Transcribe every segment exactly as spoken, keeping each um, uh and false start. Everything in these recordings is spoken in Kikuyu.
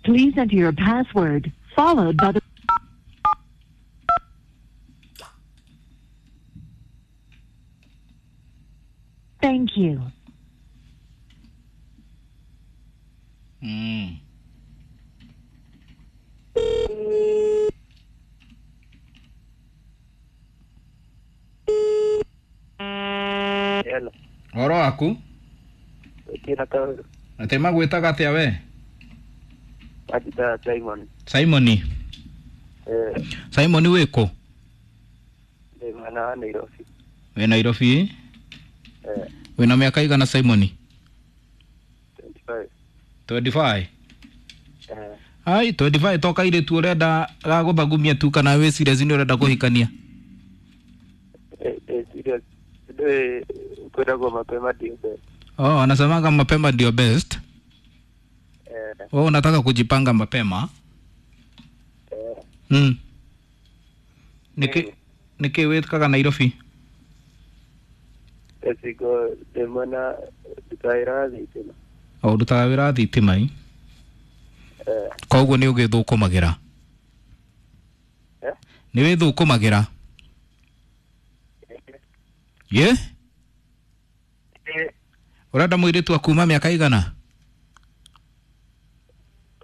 Please enter your password, followed by the Thank you. Mm. Hello. Oro waku Kina kaũndũ. Atĩ magwĩtaga atĩa we? Majita Simon. Simoni. Eh, Simoni wĩkũ? ndĩ mwena wa Nairobi. Wĩ Nairobi? Eh, Wĩna mĩaka igana Simoni? twenty-five. twenty-five. Eh, Ai, twenty-five to kairĩtu ũrenda gagũthagumia tu kana wĩ serious nĩ ũrenda kũhikania? eh, eh, serious. Ndĩ kwĩragwo mapema ndio best. Oh, anasemanga mapema ndio best. Eh, Wewe unataka kujipanga mapema? eh, Mm. Niki niki wĩkaga Nairobi? Ecigo ndĩ mwena ndutaga wĩra wa thitima. O ũrutaga wĩra wa thitima ĩ? Eh, Koguo nĩ ũgĩthũkũmagĩra? eh, Nĩ wĩthũkũmagĩra? Ye? eh, Ũrenda mũirĩtu wa kuma mĩaka igana?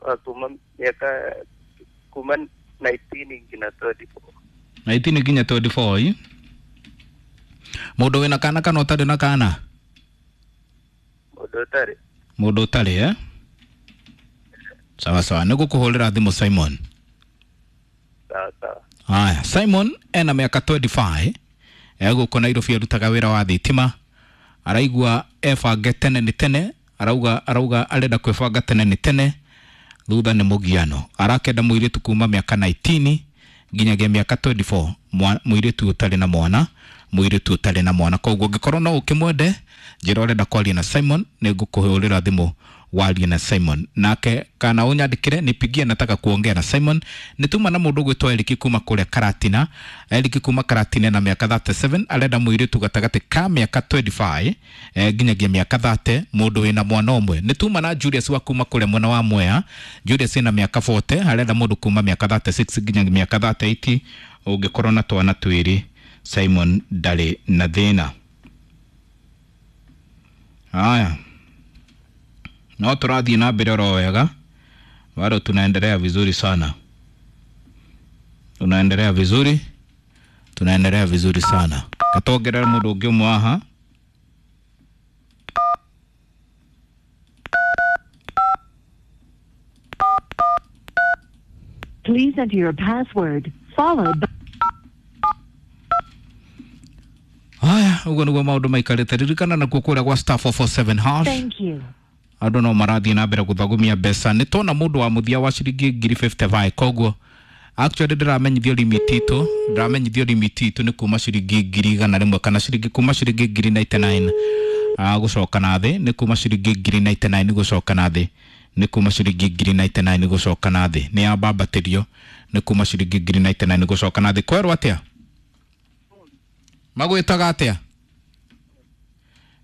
wa kuma mĩaka kuma nineteen nginya twenty-four. nineteen nginya twenty-four ĩ? Mũndũ wĩna kana kana ũtarĩ na kana? Mũndũ ũtarĩ. Mũndũ ũtarĩ eh? Sawa sawa, nĩngũkũhũrĩra thimũ Simon. Sawa sawa. Haya, Simon ena mĩaka twenty-five, egũkũ Nairobi arutaga wĩra wa thitima, araigua ebange tene nĩ tene, arauga arauga arenda kwĩbanga tene nĩ tene, thutha nĩ mũgiano. Arakenda mũirĩtu kuma mĩaka nineteen nginyagia mĩaka twenty-four, mũirĩtu ũtarĩ na mwana, mũirĩtu ũtarĩ na mwana. Koguo ũngĩkorwo no ũkĩmwende, njĩra ũrenda kwaria na Simon, nĩngũkũhũrĩra thimũ warie na Simon. Nake kana ũnyandĩkĩre nipigie, nataka kuongea na Simon. Nĩtuma na mũndũ ũgwĩtwo Eric kuma kũrĩa Karatina. Eric kuma Karatina na mĩaka thirty-seven, arenda mũirĩtu gatagatĩ ka mĩaka twenty-five eh, nginyagia mĩaka thirty, mũndũ wĩna mwana ũmwe. Nĩtuma na Julius wa kuma kũrĩa mwena wa Mwea. Julius ena mĩaka forty, arenda mũndũ kuma mĩaka thirty-six nginyagia mĩaka thirty-eight, ũngĩkorwo na twana twĩrĩ. Simon ndarĩ na thĩna. Haya, no tũrathiĩ na mbere oro wega, bado tunaendelea vizuri sana, tunaendelea vizuri, tunaendelea vizuri sana. Katongerera mũndũ ũngĩ ũmwe haha. Please enter your password, followed by Haya, ũguo nĩguo maũndũ maikarĩte. Ririkana nakuo kũrĩa gwa star four four seven hash. Thank you. Andũ no marathiĩ na mbere gũthagumia mbeca. Nĩ tuona mũndũ wa mũthia wa ciringi ngiri fifty-five. Koguo actually ndĩramenyithio limit itũ, ndĩramenyithio limit itũ nĩ kuma ciringi ngiri igana rĩmwe kana ciringi kuma ciringi ngiri ninety-nine ah, gũcoka na thĩ, nĩ kuma ciringi ngiri ninety-nine gũcoka na thĩ, nĩ kuma ciringi ngiri ninety-nine gũcoka na thĩ, nĩ yambambatĩrio nĩ kuma ciringi ngiri ninety-nine gũcoka na thĩ. Kwerwo atĩa? Magwĩtaga atĩa?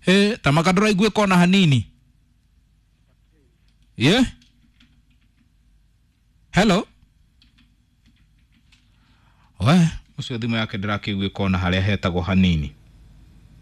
Ĩ, ta maka ndũraiguĩka ona hanini. Ye? Hello? We, ũcio thimũ yake ndĩrakĩiguĩka ona harĩa hetagwo hanini.